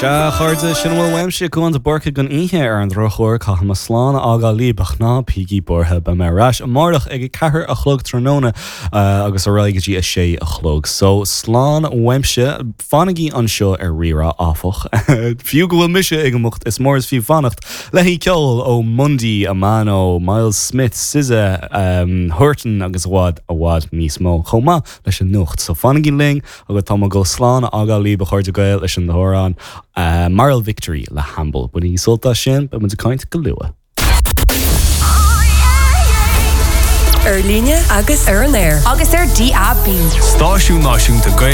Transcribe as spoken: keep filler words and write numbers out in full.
Sea, a chairde sin a bhfuil uaimse Cuán de Búrca don oíche ar an drochuair caithfidh mé slán a fhágáil libh ach ná bígí buartha beidh mé ar ais amárach ag a ceathair a chlog tráthnóna agus ar aghaidh go dtí a sé a chlog. So slán uaimse fanaigí anseo ar Rí-Rá áfach. Fiú go bhfuil mise ag imeacht is mór is fiú fanacht le haghaidh ceol ó Mundy, Amano, Miles Smith, SZA, um, Hurton agus i bhfad i bhfad níos mó chomh maith leis an nuacht. So fanaigí linn agus tá mé ag dul slán a fhágáil libh a chairde Gael leis an amhrán. Uh, Moral Victory le Hamble. Bainigí sult as sin, beidh muid ag caint go luath. Ar líne agus ar an aer. Agus ar DAB. Stáisiún Náisiúnta Gaeilge